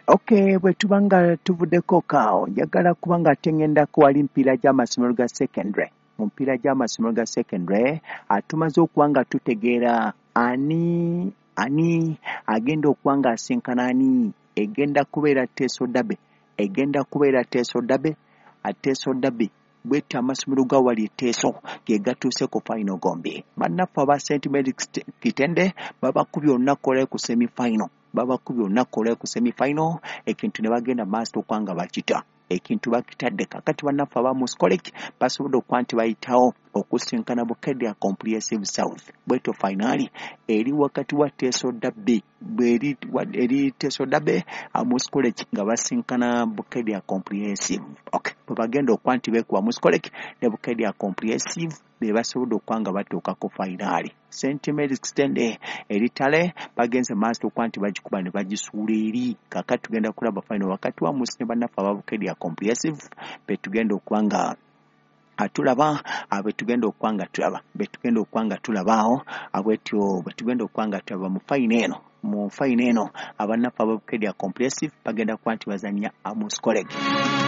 Okay, bwe tuba nga tuvuddeko kaawo, njagala kuba nga ate ŋŋendako wali mipiira gy'amasomero ga secondary. Mu mipiira gy'amasomero ga secondary tumaze okuba nga tutegeera ani ani agenda okuba nga asinkana ani. Egenda kubeera Teso Derby, egenda kubeera Teso Derby, Teso Derby. Bwetyo amasomero ga wali e Teso ge gatuuse ku final gombi. Bannaffe aba St Mary's Kitende babakubye olunaku olwaleero ku semi final, babakubye olunaku olwaleero ku semi final, ekintu ne bagenda maaso okuba nga bakita. Ekintu bakitadde. Kakati bannaffe aba Mus College basobodde okuba nti bayitawo okusinkana Bukedea Comprehensive South. Bwetyo finali eri wakati wa Teso Derby, bweri eri Teso Derby, Mus College nga basinkana Bukedea Comprehensive. Okay, bwe bagenda okuba nti beekuba Mus College ne Bukedea Comprehensive, be basobodde okuba nga batuuka ku finali. St Mary's Kitende eritale bagenze maaso okuba nti bagikuba ne bagisuula eri. Kakati tugenda kulaba final wakati wa Mus ne bannaffe aba Bukedea Comprehensive, be tugenda okuba nga tulaba, be tugenda okuba nga tulaba, be tugenda okuba nga tulaba awo. Bwetyo bwe tugenda okuba nga tulaba mu final eno. Mu final eno abannaffe aba Bukedea Comprehensive bagenda kuba nti bazannya Mus College.